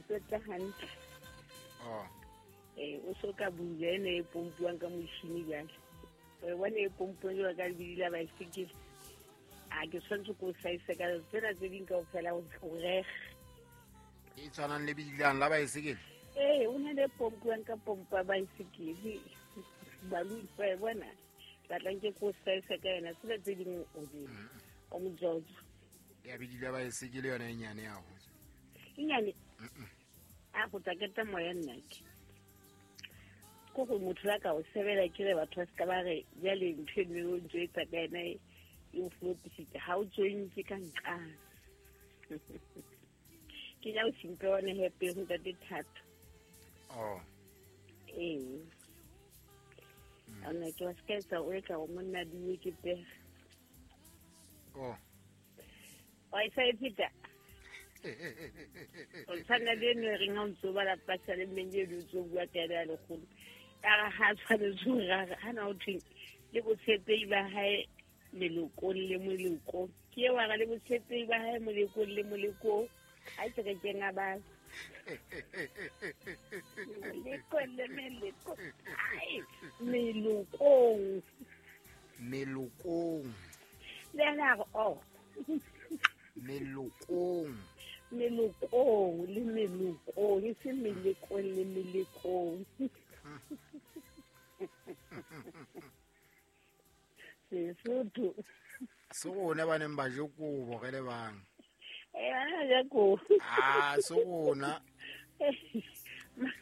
qeta hantle. Oh. O so ka bua ene e pompuang ka motšhini jale. O bone e pompuang jalo ka lebidi la baesekele. A ke tshwanetse ko saise ka tsena tse ding kaofela o rege. E tshwanang le bidilang la baesekele? Ee, o na le pompuang ka pompa baesekele. Baloi ba e bona. Batlang ke ko saise ka yona tsena tse ding o di. O mojojo. Ya bidile baesekele yona e nyane ya ho. E nyane? A go tla keta moya nna ke. Ko go motho la ka o sebela ke re batho ba se ka ba re jale ntho e nngwe o ntse e etsa ka yena e o flopisitse ha o tswentse ka nqane. Ke ja o simpe one happy go ntate Thato. Oh. Ee. Ana ke wa se ka etsa o etla go monna diwe ke pega. Oh. Wa e sa e pheta? O tshwana le eno e reng ha o ntso bala pasa le mmeng eno o ntso bua ka ena ya lekgolo. Ka re ha tshwanetse ho rara, ha na ho thweng le botshepehi ba hae melokong le molokong. Ke eo a re le botshepehi ba hae molekong le molekong. Ha ke re ke ngabala. Molekong le melekong. Ai, melokong. Melokong. Le ena a re, oh. Melokong. Melokong le melokong, e se melekong le melekong. Sesotho. Se rona ba neng ba je kobo re le bang. Eh, ba ne ba ja kobo. Ah, se rona.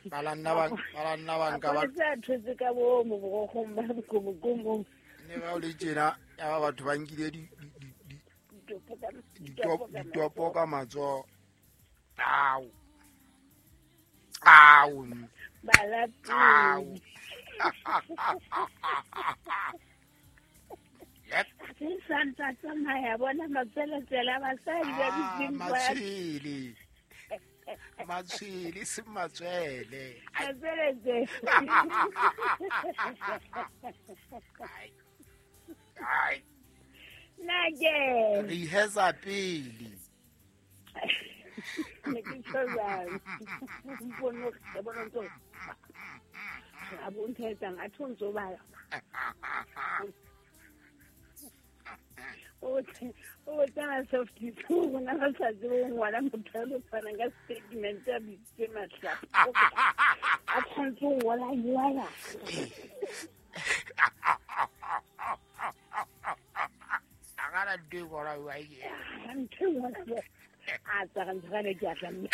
Ba la nna ba, ba la nna ba nka ba. Mapolesa a thotse ka bo mo borokgong ba bokomokomong. Ne ba o le tjena, ya ba batho ba nkile ditopo ka matsoho. Au. Au. Balapeng. Au. Yep. Se santsa tsamaya bona matsweletswele a basadi ba dutseng kwa. Matshwele. Matshwele, se matswele. Matsweletswele. Ai. Ai. Nna ke. Re iheza pele. Ne ke tjho jwalo. Mpono, ke bona ntho. A bo ntho e etsang, a tho ntso bala. O tsena soft rona ba sa tsebe ho ngwala motho a lo tshwanang ka statement a bitsitse mahlapa. A tshwanetse ho ngola jwala. A gana ntho e ngwala jwang e? Ntho e ngwala jwang? A tsara ntho gane ke a tla mme.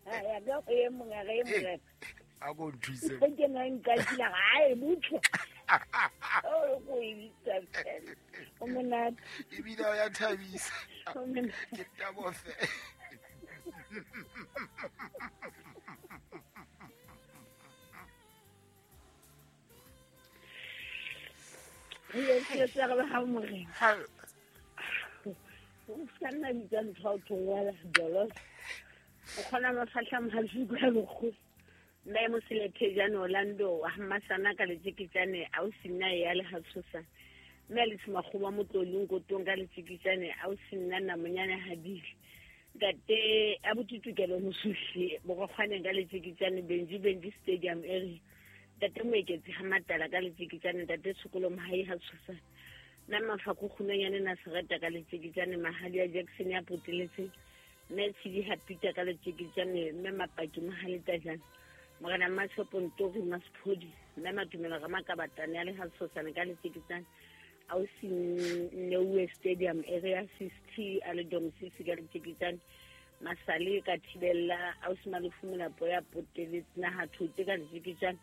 Ya ka go e mongwe, ga e mongwe. A ko nthuse. Ge ke na nka kila ga e butle. O ko e bitsa fela. O monate. Ebile o ya thabisa. O monate. Ke tabo fela. Re tse re ba ha morena. Ha. O ska nna bitsa ntho ha o tho ngwala dolos. O kgona mafahla mahasiko ya lekgolo. Mme Moselethe jane Orlando wa Mmasana ka letjeketjane a o sinna ya le ha tshosa. Mme le Semakgoba motlolong kotong ka letjeketjane a o sinna namonyane habile. Ntate a botutukelo mosuhle borokgwaneng ka letjeketjane Benji Benji Stadium area. Ntate Moeketsi ha Matala ka letjeketjane ntate Tshokolo Mohai ha tshosa. Nna Mafako Kgunonyane Nasereta ka letjeketjane Mahadi ya Jackson ya poteletse. Mme Tshidi ha Peter ka letjeketjane mme Mapaki Mohale Tajane. Morena Mmashopo Ntori Masphodi mme Matumelo Ramakabatane ya le ha tshosane ka letjeketjane. A o si Neuwe Stadium area 60 a le Dom Sisi ka letjeketjane. Masale ka thibella a o si Malefu Molapo ya poteletse naha thote ka letjeketjane.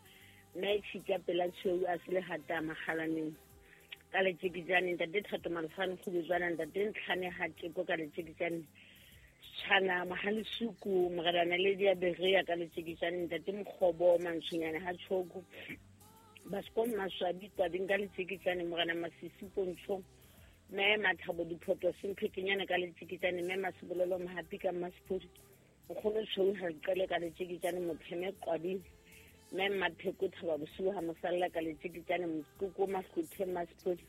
Mme Tshika pela tshweu a se le hata makgalaneng ka letjeketjane. Ntate Thato Malefane Kgubetswana ntate Ntlhane ha Teko ka letjeketjane. Tshana Mahalesuku Morena Naledi ya Berea ka letjeketjane. Ntate Mokgobo Mantshonyane ha Tshoko Baskom Maswabi Tabeng ka letjeketjane. Morena Masisi Pontsho Mme Mathabo Diphoto Semphekenyane ka letjeketjane. Mme Masebolelo Mohapi ka Mmasepodi Nkgono Tshweu ha Qele ka letjeketjane. Mopheme Qwabing Mme Mmapheko Thaba Bosiu ha Mosalla ka letjeketjane. Mokoko Mahlothe Mmasepodi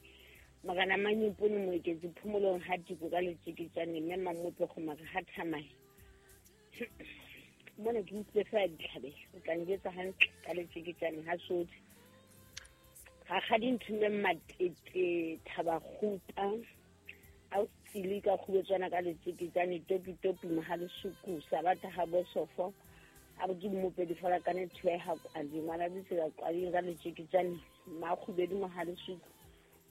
Morena Manyopone Moeketsi Phomolong ha Tiko ka letjeketjane. Mme Mamope Kgomare ha Thamae. Mona ke utlwile fela ditlhabela, o tla njwetsa hantle ka letjeketjane ha sothe. Rakgadi Nthumeng Matete Thabakgupa, a o tsile ka kgubetswana ka letjeketjane topi topi mohalesuku sabata ha bosofo a botse mmopedi fela ka ne thuega kwadi ngwana ditsela kwading ka letjeketjane makgubedi mohalesuku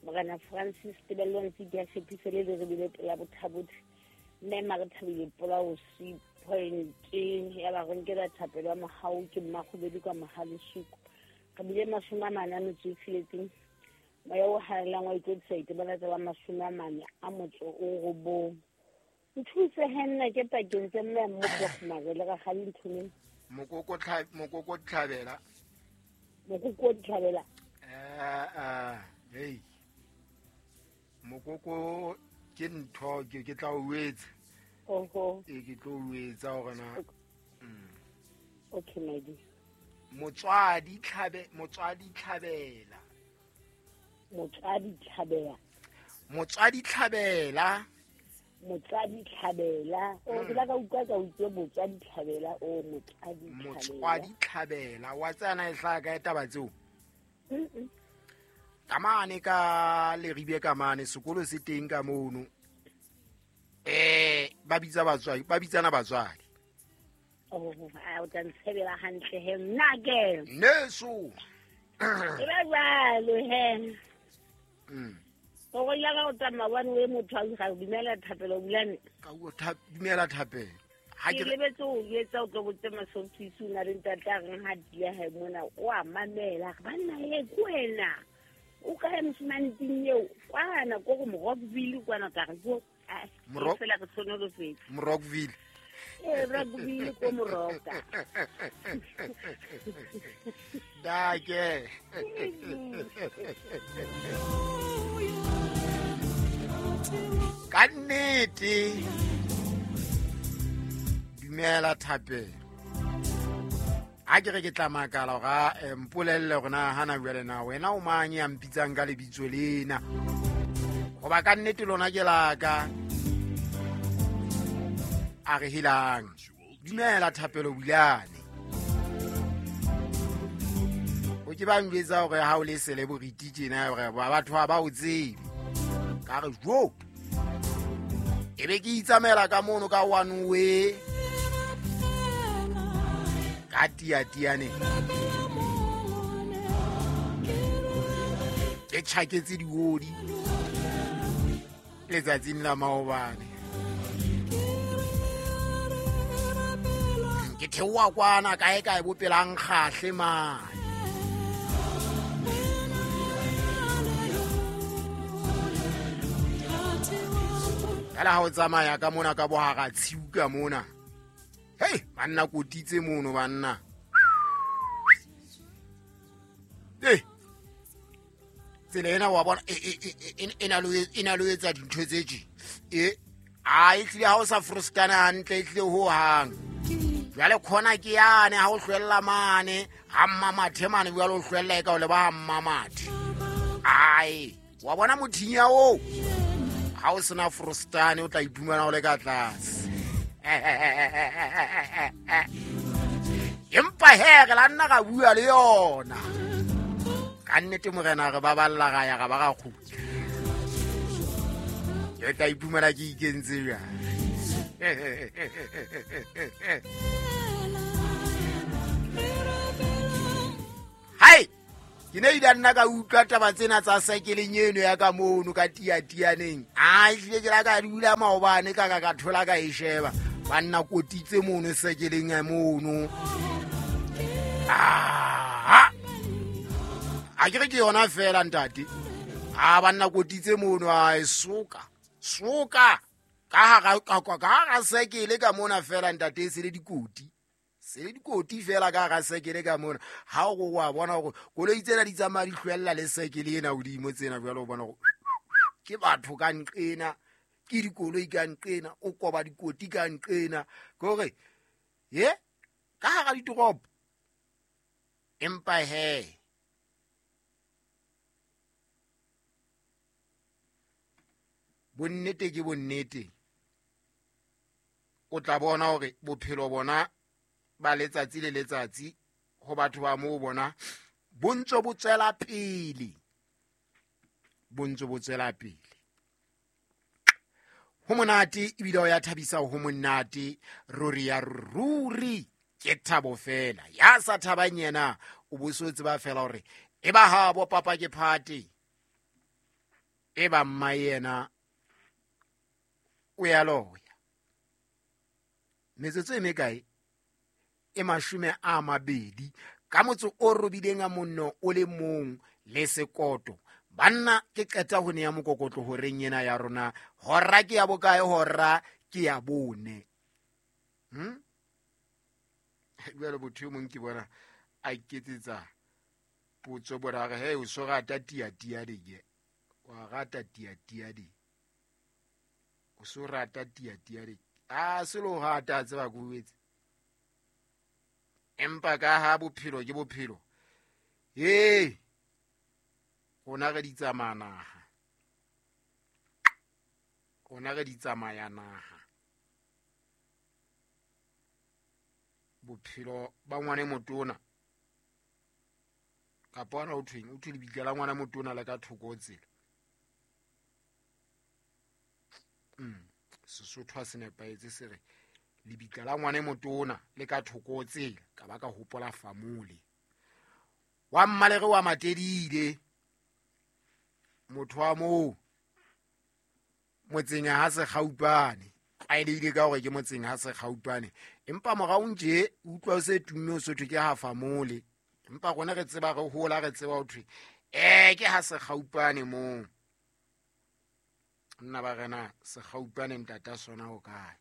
Morena Francis Tebello Ntsiki ya Shepise le le rebile pela bothabothe mme mare thabile polao C point ya ba re nkela thapelo ya mohau ke mmakgubedi ka mohalesuku re bile 46 moya o halalelang wa ikwetlisa itebala tsa ba 49. Nthuse he nna ke pakeng tse mme mmogo mabele ga gale nthumeng mokoko tlhabela mokoko tlhabela hey mokoko ke ntho ke tla o etsa oho e ke tlo o etsa hore na okay my dear motswadi tlhabela motswadi tlhabela motswadi tlhabela motswadi tlhabela o ke la ka utlwa ka utlwe motswadi tlhabela o motswadi tlhabela wa tsana e hlaka ka taba tseo ka mane ka leribe ka mane sekolo se teng ka mono ba bitsa batswadi ba bitsana batswadi oh a o tla ntshebela hantle he nna ke neso e ba jwalo he o go ya ka o tsamaya bane o e motho a ga dumela thapelo bulane ka o dumela thapelo ha ke lebetse o etsa o tlo botse masofisi o na le ntate a reng ha dia he mona o a mamela banna e ko wena o kae mosimane ting eo kwana ko go Morockville kwana ka re ko fela re tshwanolofetse Morockville Rockville ko Moroka dake ka nnete dumela thapelo a ke re ke tla makala ga mpolelle gore na hana jwale na wena o mang ya mpitsang ka lebitso lena goba ka nnete lona ke laka a re helang dumela thapelo bulane o ke ba njwetsa gore ha o le celebrity tjena gore batho ba ba o tsebe ka re jo e be ke itsamela ka mono ka one way ka tiatiane ke tjhaketse diodi letsatsing la maobane ke theoha kwana kae kae bopelang kgahle mane fela ha o tsamaya ka mona ka bohara tshiu ka mona hei banna kotitse mono banna tsela ena wa bona e na le ho etsa dintho tse tje a e tlile ha o sa frostana hantle e tlile ho hang jwale khona ke yane ha o hlwella mane ha mmamathe mane jwale o hlwella e ka o leba ha mmamathe ai wa bona mothinya oo ha o sena frostane o tla iphumana o le ka tlase empa he re la nna ga bua le yona ka nnete morena re baballa ga ya ga ba ga kgutla ke tla iphumana ke ikentse jang hai ke ne ile nna ka utlwa taba tsena tsa saekeleng eno ya ka mono ka tiatianeng a ehlile ke la ka dula maobane ka ka thola ka e sheba banna kotitse mono saekeleng ya mono a ke re ke yona fela ntate a banna kotitse mono a e soka soka ka hara saekele ka mona fela ntate e se le dikoti se le dikoti fela ka hara saekele ka mona ha o wa bona hore koloi tsena di tsamaya di hlwella le saekele ena hodimo tsena jwale o bona hore ke batho ka nqena ke dikoloi ka nqena o koba dikoti ka nqena ke hore ye ka hara ditoropo empa he bonnete ke bonnete O tla bona hore bophelo bona ba letsatsi le letsatsi ho batho ba moo bona bo ntse bo tswela pele, bo ntse bo tswela pele. Ho monate ebile o ya thabisa, ho monate ruri ya ruri, ke thabo fela. Ya sa thabang yena o bo so tseba fela hore e ba habo papa ke phate, e ba mma yena o ya loya. Metsotso e mekae? E 20 ka motso o robileng a monno o le mong le sekoto. Banna ke qeta ho nea mokokotlo horeng ena ya rona. Hora ke ya bokae? Hora ke ya 4. Jwale motho e mong ke bona a iketsetsa potso borare, he o so rata tia-tia di ke? Wa rata tia-tia di? O so rata tia-tia di? A se lo rata, tseba ko etse. Empa ka ha bophelo ke bophelo, ee rona re di tsamaya naha, rona re di tsamaya naha. Bophelo ba ngwana motona kapa ona o thweng, o thwe lebitla la ngwana motona le ka thoko ho tsela. Sesotho ha se nepahetse, se re lebitla la ngwana motona le ka thoko ho tsela. Ka ba ka hopola famole wa mmalere wa Matedile, motho wa moo motseng ha Sekgaupane, tlwaelehile ka hore ke motseng ha Sekgaupane, empa morao nje utlwa o se tumme o sothwe ke ha famole, empa rona re tseba, re hola re tseba ho thwe ke ha Sekgaupane moo. Nna ba rena Sekgaupane ntata sona ho kae?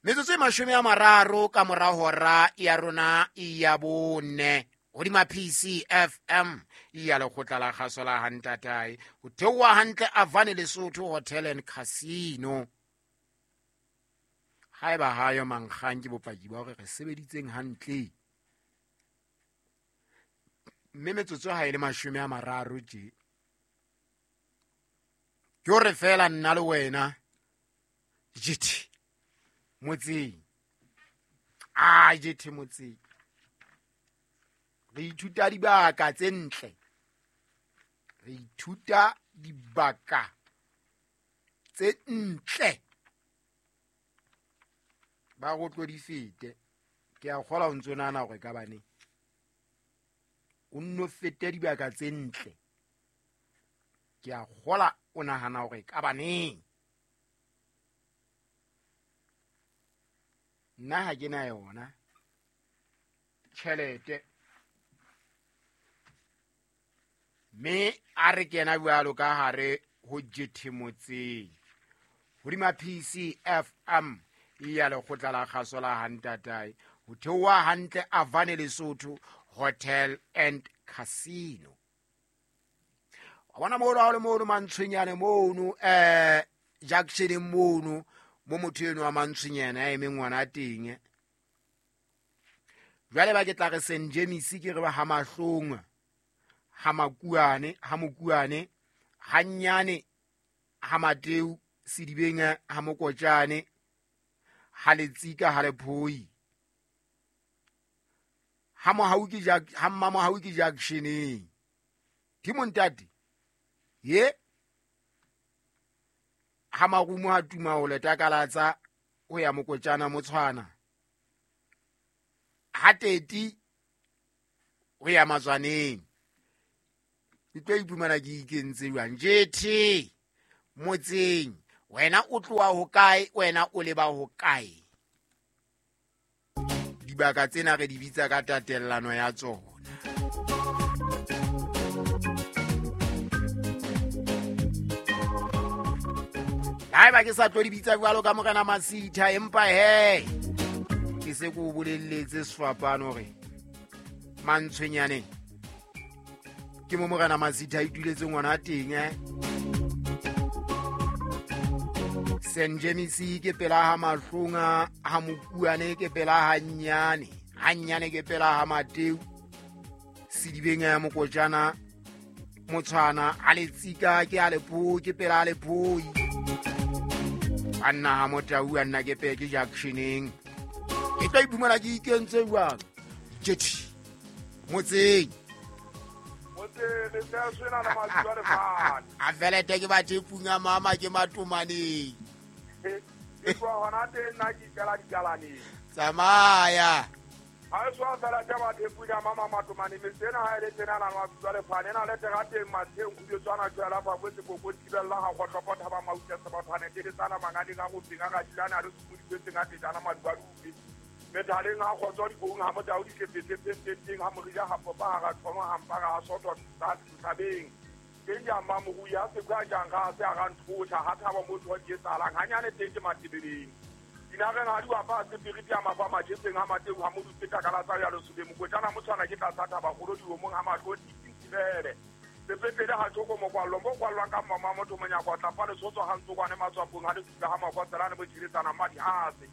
Metsotso e 30 ka mora hora ya rona ya 4 hodima PCFM ya lekgotla la kgaso la Hantatae, ho theoha hantle Avane Lesotho Hotel and Casino. Haeba hayo mankgang ke bopaki ba hore re sebeditseng hantle. Mme metsotso ha e le 30 tje, ke hore fela nna le wena jethe motseng, a jethe motseng re ithuta dibaka tse ntle, re ithuta dibaka tse ntle. Ba go tlo di fete, ke a kgola o ntso nahana hore ka baneng o nno fete dibaka tse ntle. Ke a kgola o nahana hore ka baneng. Nna ha ke na yona tjhelete, mme a re kena jwalo ka hare ho jethe motseng hodima PCFM ya lekgotla la kgaso la Hantatae, ho theoha hantle Avane Lesotho Hotel and Casino. Wa bona mono ha o le mono Mantshwenyane mono, junction mono mo motho eno wa Mantshwenyane a emeng ngwana teng. Jwale ba ke tla re St James ke re ba ha Mahlong, ha Makuane, ha Mokuane, ha Nyane, ha Mateu, Sedibeng, ha Mokotjane, ha Letsika, ha Lephoi, ha Mohau ke jak, ha Mmamohau ke junctioneng. Ke montate ye ha Marumo ha tuma ho letakalatsa ho ya Mokotjana Motshwana, ha Teti ho ya Matswaneng. Ke tlo iphumana ke ikentse jwang jethe motseng? Wena o tloha ho kae? Wena o leba ho kae? Dibaka tsena re di bitsa ka tatellano ya tsona. Haeba ke sa tlo di bitsa jwalo ka Morena Masitha, empa he ke se ke o bolelletse sefapano hore Mantshwenyaneng ke mo Morena Masitha a ituletse ngwana teng. St James ke pela ha Mahlonga, ha Mokuane ke pela ha Nyane, ha Nyane ke pela ha Mateu, Sedibeng ya Mokotjana Motshwana, ha Letsika ke a Lephoi, ke pela ha Lephoi. Banna ha motau a nna ke peke junctioneng. Ke tla iphumana ke ikentse jwang? Jethi. Motseng. Motseng le tsa sena le matswa le fane. A felete ke bathe punga mama ke matomaneng. Ke tloha hona teng nna ke ikela dikalaneng. Tsamaya. Ha e swa fela tsa bathe punga mama matomaneng metsena ha e le tsena na matswa le fane na le terateng matsheng khubetswana tswela fa botse koko thibella ha kgotlopotha ba mautse se bathane ke tsana mangading a go tsenga ga dilana le sukuditseng a tejana madubadube. Methaleng ha kgotso dibong ha motao di tlepetse ha morija ha popa ha ra thoma ha mpara ha sotho tsa thabeng. Ke ja mamoru ya se ka jang ga se a ra nthotha ha thaba motho wa di etsalang hanyane teng ke matebeleng. Dinageng ha di wa pa se piriti ya mafa majetseng ha mateu ha modutse ka kala tsa ya lesube mokotjana motshwana ke tla thaba golo di omong ha matlo tintibele. Sepetlele ha tshoko mokwallo mo kwallwang ka mama motho monyako tla fa lesotso ha ntsokwane matswapong ha le ha makotselane bo tshiretsana madi ase.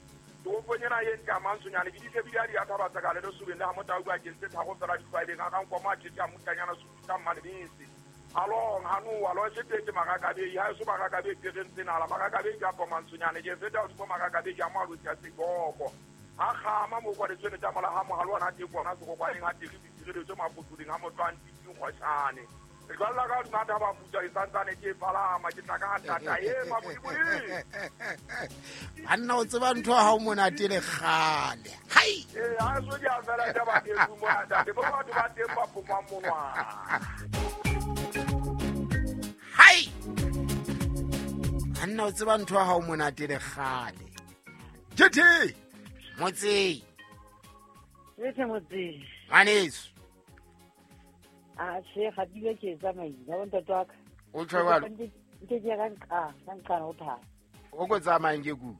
Toropong ena e ntle ya Mantsonyane ke ditlebile a di a thaba tsa ka le lesobeng le ha motau ba kentse thago fela ditlwaeleng a ka nkoma a tjetse a motanyana sututa mmalebese. Along hanu alo se marakabei ha so marakabei ke reng tsena la marakabei ka Mantsonyane ke feta o marakabei ya malotsi a seboko. Ha kgama mo kwa letswene tsa mola ha mohalo ona teng kona se go kwa eng ha teng ditshireletso mapotuleng ha motho a ntitseng kgoshane. Re jwalla ka hodima thaba putswa e santsane ke palama ke tla ka tata e mabodibodi. Banna o tseba ntho ha o monate le kgale. Hai. Ha so di a fela taba ke mona ntate bo batho ba teng ba pomang monwana. Hai. Banna o tseba ntho ha o monate le kgale. Jethi. Motse. Jethi motse. Ngwaneso. A se ga dile ke tsamaile ba ntate wa ka. O tjho jwalo. Ke ke ka nqa o tha. O go tsamayang ke ku.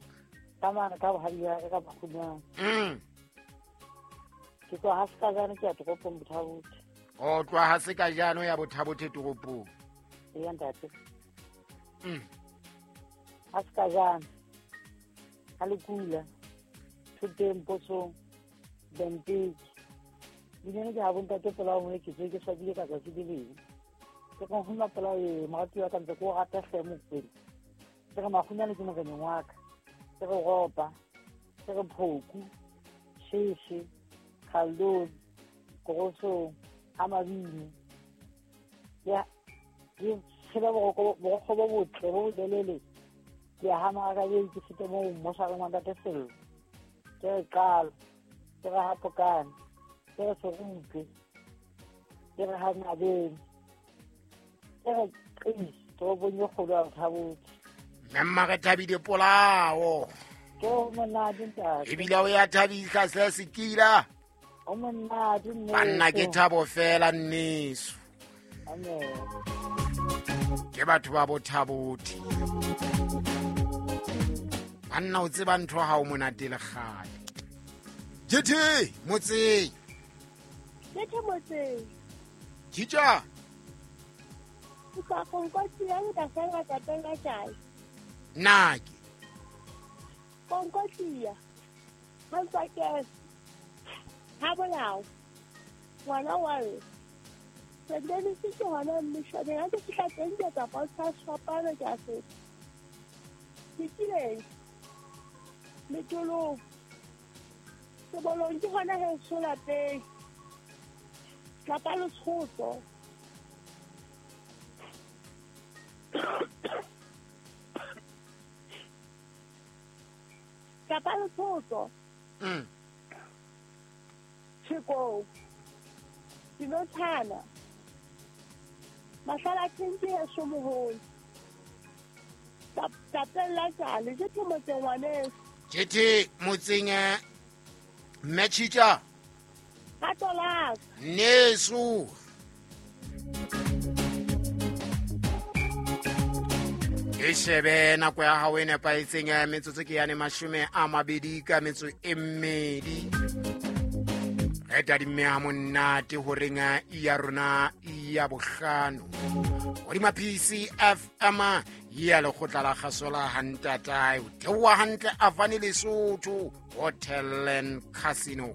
Tsamana ka bohadi ya ka bakgonyana. Ke tloha ha se ka jana ke ya toropong Bothabothe. O tloha ha se ka jana ya Bothabothe toropong. Ee ntate. Ha se ka jana. Ha le kula. Thoteng posong. Benteke. Dinene ke ha bontate polao mo ke tswe ke swabile ka tsatsi le leng. Ke go huma polao e morati wa ka ntse ko rata hle mokwena. Ke re makgonyane ke moreneng wa ka. Ke re ropa, ke re phoku, sheshe, khaldone, korosong, ha mabini. Ya ke tshela boroko bo botle bo bolelele. Ke ha marakabei ke fete moo moshareng wa ntate Sello. Ke re qalo, ke re hapokane. Ke re serupe, ke re ha nabeng, ke re qisi, toropong e kgolo ya Bothabothe. Mme mma re thabile polao. Ke o monate ntate. Ebile o ya thabisa se sekila. O monate nneso. Banna ke thabo fela nneso. Amen. Ke batho ba Bothabothe. Banna o tseba ntho ha o monate le kgale. Jethi motseng. Jethi motseng. Jitja. Ke tla konkotsiya ka fela ka teng ka tjai. Nake. Konkotsiya. Ha ntsa ke. Ha bolao. Ngwana wa re. Sendeni se ke hona mmishane ha ke fihla teng ke tla bontsha sefapano ke a feta. Ke kileng. Metolong. Sebolong ke hona heso lapeng. Tlapa letshotso. Tlapa letshotso. Tshekong. Dinotshana. Mahlala teng ke heso moholo. Tlapeng la tjale, Jethi motseng ngwaneso. Jethi motseng mme Tjhitja. Nneso. E shebe nako ya hao e nepahetseng ya metsotso ke yane 22 ka metso e mmedi. Re tadimme ha monate horeng ya rona ya bohlano. Hodima PCFM ya lekgotla la kgaso la Hantatae. O theoha hantle Avani Lesotho Hotel and Casino.